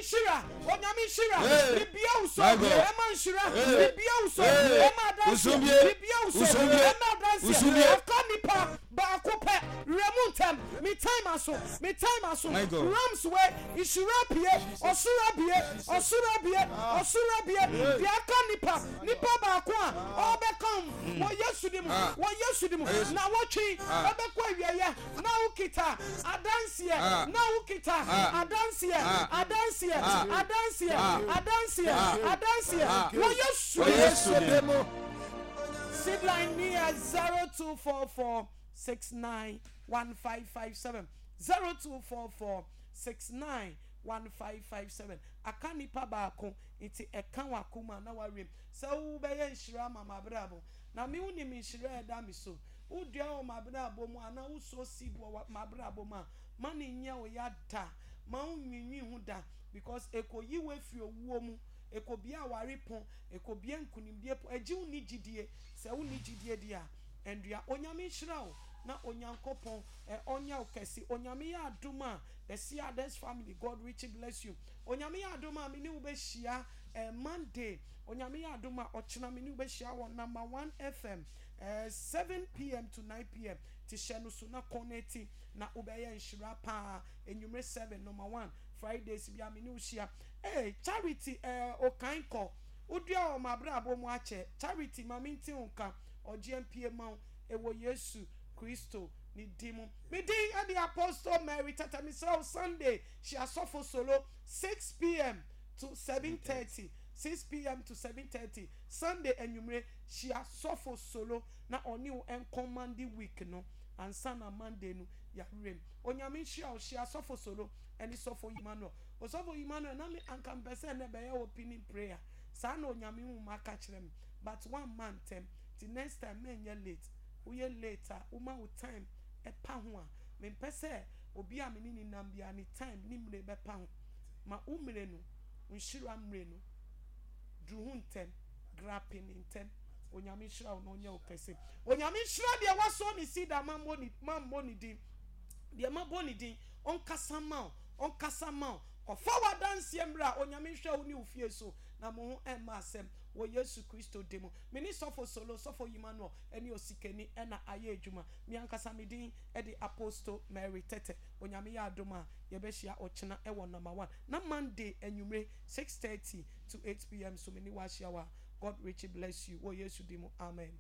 nhyira, Onyame nhyira, Hey. Mebue wo so, My God. ɛma nhyira, Hey. Mebue wo so, Hey. ɛma adanseɛ, Usumie. Mebue wo so, Usumie. ɛma adanseɛ, Usumie. Aka nipa baako pɛ, werɛ mu ntɛm, me time aso, me time aso, My God. Rams wei, nhyira abue, ɔsoro abue, ɔsoro abue, ɔsoro abue, Deɛ aka nipa, nipa baako a ɔrebɛka ho, wɔ Yesu din mu, Ah. wɔ Yesu din mu, Yesu. Nawɔtwe Ah. ɛbɛkɔ awieɛ, na wokita adanseɛ, Ah. na wokita Ah. adanseɛ, Ah. adanseɛ, Ah. adanseɛ, Ah. adanseɛ, Ah. adanseɛ, Ah. wɔ Yesu Wɔ Yesu din mu. Seed line ni yɛ 0244 69 1557 0244 69 1557. Aka nipa baako nti ɛka w'akoma na wawiem sɛ wobɛyɛ nhyira ama m'abrabɔ na me wonim nhyira a ɛda me so. Wodua wɔ m'abrabɔ mu anaa wosow seed wɔ m'abrabɔ mu a, ma no nyɛ wo ya da, ma wonnwinnwen ho da because ɛkɔyi wo afiri owuo mu, ɛkɔbue aware pon, ɛkɔbue nkunimdie pon, ɛgye wo nni gyidie, sɛ wonni gyidie deɛ a, ɛndua. Onyame nhyira wo na Onyankopɔn ɔnyɛ wo kɛse. Onyame yɛ adom a, the Seades family, God richly bless you. Onyame yɛ adom a, me ne wo bɛhyia Monday. Onyame yɛ adom a, ɔkyena me ne wo bɛhyia wɔ Number One FM. 7pm to 9pm ti hyɛ no so na kɔ no ti na wobɛyɛ nhyira paa enyimire 7 number 1 Fridays bia me ne wo hyia ee Charity eh okan kɔ wodua wɔ m'abrabɔ mu akyɛ Charity ma me nti wo nka ɔgyeɛ mpie ma wo ɛwɔ Yesu Kristo ne din mu me din ɛde Apostle Mary Tata mesrɛ wo Sunday hyia sɔfo solo 6pm to 7:30 6pm to 7:30 Sunday anwummere Hyia sɔfo solo na ɔne wo nkɔ Monday week no ansa na Monday no yɛawerɛ mu. Onyame nhyira wo. Hyia sɔfo solo ɛne sɔfo Emmanuel. Osɔfo Emmanuel na me anka mepɛ sɛ ɛnɛ bɛyɛ opening prayer saa na Onyame honhom aka kyerɛ me but woamma ntɛm nti next time mɛnyɛ late. Woyɛ late a woma wo time ɛpa ho a mempɛ sɛ obi a me ne no nam biara ne time ne mmire bɛpa ho. Ma wo mmire no, wo nhyira mmire no duru ho ntɛm. Grape ne ntɛm. Onyame nhyira wo na ɔnyɛ wo kɛse. Onyame nhyira deɛ wasɔ ne seed a mammɔ ne mammɔ ne din. Deɛ mabɔ ne din, ɔnkasa mma wo, ɔnkasa mma wo. Kɔfa w'adanseɛ mmra. Onyame nhwɛ wo ne wo fie so na mo ho ɛmma asɛm wɔ Yesu Kristo din mu. Me ne Sɔfo Solo, Sɔfo Emmanuel ɛne Osikani ɛna ayɛ adwuma. Me ankasa me din ɛde Apostle Mary Tɛtɛ. Onyame yɛ adom a yɛbɛhyia ɔkyena ɛwɔ number one. Na Monday anwummere 6:30 to 8 pm so me ne wo ahyia wɔ ha. God richly bless you wɔ Yesu din mu amen.